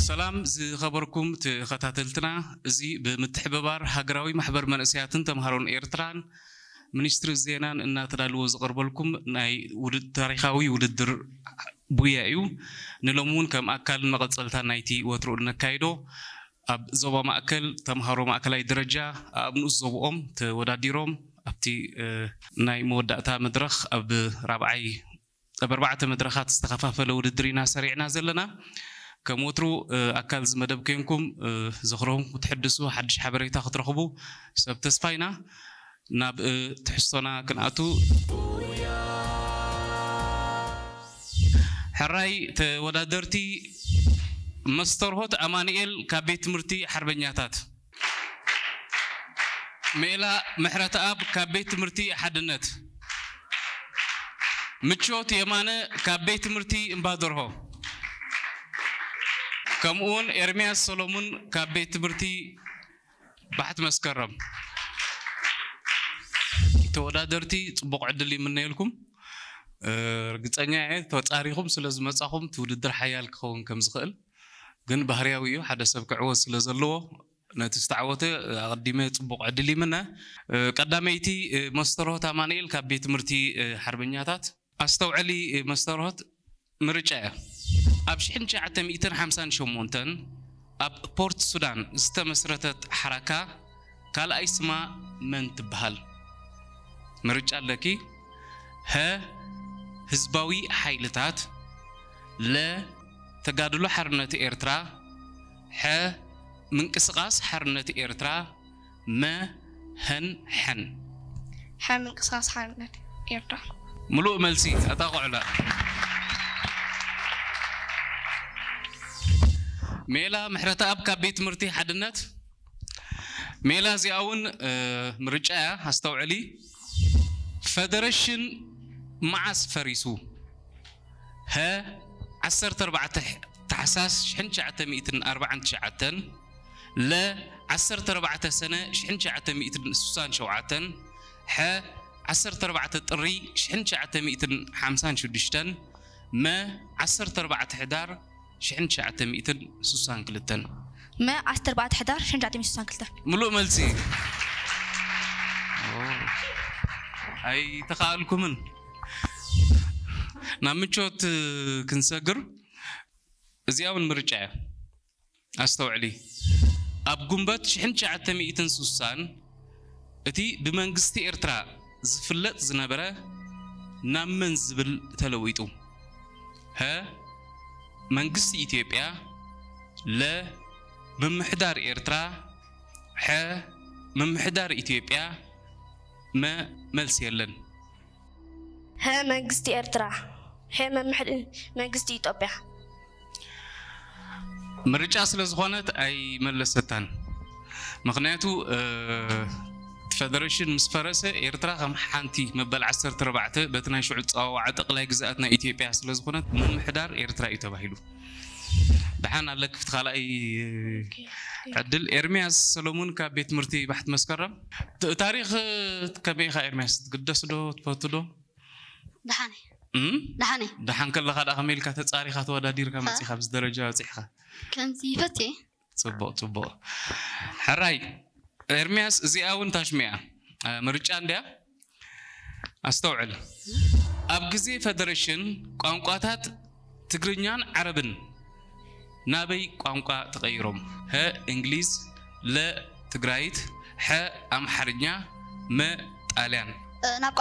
ሰላም ዝኸበርኩም ተኸታተልትና፣ እዚ ብምትሕብባር ሃገራዊ ማሕበር መንእሰያትን ተምሃሮን ኤርትራን ሚኒስትሪ ዜናን እናተዳለወ ዝቐርበልኩም ናይ ውድድ-፣ ታሪኻዊ ውድድር ቡያ እዩ። ንሎሚ እውን ከም ኣካልን መቐጸልታን ናይቲ ወትሩ እነካይዶ ኣብ ዞባ ማእከል ተምሃሮ ማእከላይ ደረጃ ኣብ ንኡስ ዞብኦም ተወዳዲሮም ኣብቲ፣ እ፣ ናይ መወዳእታ መድረኽ ኣብ ራብዓይ ኣብ ኣርባዕተ መድረኻት ዝተኸፋፈለ ውድድር ኢና ሰሪዕና ዘለና። ከም ወትሩ፣ እ፣ ኣካል እዚ መደብ ኮይንኩም፣ እ፣ ዝኽርኹም ክትሕድሱ፣ ሓድሽ ሓበሬታ ክትረኽቡ ሰብ ተስፋ ኢና። ናብ፣ እ፣ ትሕዝቶና ክንኣቱ። ሕራይ ተወዳደርቲ፣ መስተርሆት ኣማኑኤል ካብ ቤት ትምህርቲ ሓርበኛታት፣ ሜላ ምሕረተኣብ ካብ ቤት ትምህርቲ ሓድነት፣ ምቾት የማነ ካብ ቤት ትምህርቲ እምባደርሆ፣ ከምኡውን ኤርምያስ ሰሎሙን ካብ ቤት ትምህርቲ ባሕቲ መስከረም። ተወዳደርቲ ጽቡቕ ዕድል ይምነየልኩም። እ፣ ርግጸኛ እየ ተጻሪኹም ስለ ዝመጻኹም እቲ ውድድር ሓያል ክኸውን ከም ዝኽእል። ግን ባህርያዊ እዩ፣ ሓደ ሰብ ክዕወት ስለ ዘለዎ ነቲ ዝተዓወተ ኣቐዲመ ጽቡቕ ዕድል ይምነ። እ፣ ቀዳመይቲ፣ እ፣ መስተርሆት ኣማኑኤል ካብ ቤት ትምህርቲ፣ እ፣ ሓርበኛታት። ኣስተውዕሊ፣ እ፣ መስተርሆት ምርጫ እያ። ኣብ ሽሕን ትሽዓተ ሚእትን ሓምሳን ሸሞንተን ኣብ ፖርት ሱዳን ዝተመስረተት ሓራካ ካልኣይ ስማ መን ትበሃል? ምርጫ ኣለኪ። ሀ፣ ህዝባዊ ሓይልታት፣ ለ፣ ተጋድሎ ሓርነት ኤርትራ፣ ሐ፣ ምንቅስቓስ ሓርነት ኤርትራ፣ መ፣ ሀን፣ ሐን። ሐ፣ ምንቅስቓስ ሓርነት ኤርትራ። ምሉእ መልሲ ኣጣቕዑላ። ሜላ ምሕረተኣብ ካብ ቤት ትምህርቲ ሓድነት። ሜላ፣ እዚኣ እውን፣ እ፣ ምርጫ እያ፣ ኣስተውዕሊ። ፈደረሽን መዓስ ፈሪሱ? ሀ፣ ዓሰርተ ኣርባዕተ ታሕሳስ ሽሕን ትሽዓተ ሚእትን ኣርባዓን ትሽዓተን፣ ለ፣ ዓሰርተ ኣርባዕተ ሰነ ሽሕን ትሽዓተ ሚእትን ስሳን ሸውዓተን፣ ሐ፣ ዓሰርተ ኣርባዕተ ጥሪ ሽሕን ትሽዓተ ሚእትን ሓምሳን ሽዱሽተን፣ መ፣ ዓሰርተ ኣርባዕተ ሕዳር ሽሕን ትሽዓተ ሚእትን ስሳን ክልተን። መ፣ ዓሰርተ ኣርባዕተ ሕዳር ሽሕን ትሽዓተ ሚእትን ስሳን ክልተን። ምሉእ መልሲ። ኣይተኻእልኩምን። ናብ ምቾት ክንሰግር። እዚኣ እውን ምርጫ እያ። ኣስተውዕሊ። ኣብ ጉንበት ሽሕን ትሽዓተ ሚእትን ስሳን እቲ ብመንግስቲ ኤርትራ ዝፍለጥ ዝነበረ ናብ መን ዝብል ተለዊጡ? ሀ፣ መንግስቲ ኢትዮጵያ፣ ለ፣ ምምሕዳር ኤርትራ፣ ሐ፣ ምምሕዳር ኢትዮጵያ፣ መ፣ መልሲ የለን። ሀ፣ መንግስቲ ኤርትራ። ሐ፣ መምሕድ-፣ መንግስቲ ኢትዮጵያ። ምርጫ ስለ ዝኾነት ኣይመለሰታን። ምኽንያቱ፣ እ፣ እቲ ፈደረሽን ምስ ፈረሰ ኤርትራ ከም ሓንቲ መበል ዓሰርተ ኣርባዕተ በቲ ናይ ሽዑ ጸዋውዓ ጠቕላይ ግዝኣት ናይ ኢትዮጵያ ስለ ዝኾነት ምምሕዳር ኤርትራ እዩ ተባሂሉ። ደሓን ኣለኪ፣ እቲ ካልኣይ ዕድል። ኤርምያስ ሰሎሙን ካብ ቤት ትምህርቲ ባሕቲ መስከረም። ት-፣ ታሪኽ ከመይ ኢኻ ኤርምያስ? ትግደስ ዶ? ትፈቱ ዶ? ደሓን እየ። እም? ደሓን እየ። ደሓን ከለኻ ደኣ ከመይ ኢልካ ተጻሪኻ ተወዳዲርካ ኸ? መጺኻ ኣብዚ ደረጃ በጺሕኻ? ከምዚ ይፈትየ። ጽቡቕ፣ ጽቡቕ። ሕራይ፣ ኤርምያስ፣ እዚኣ እውን ታሽሚያ፣ እ፣ ምርጫ እንድያ። ኣስተውዕል። ኣብ ግዜ ፈደረሽን ቋንቋታት ትግርኛን ዓረብን ናበይ ቋንቋ ተቐይሮም? ሀ፣ እንግሊዝ፣ ለ፣ ትግራይት፣ ሐ፣ ኣምሓርኛ፣ መ፣ ጣልያን። እ፣ ናብ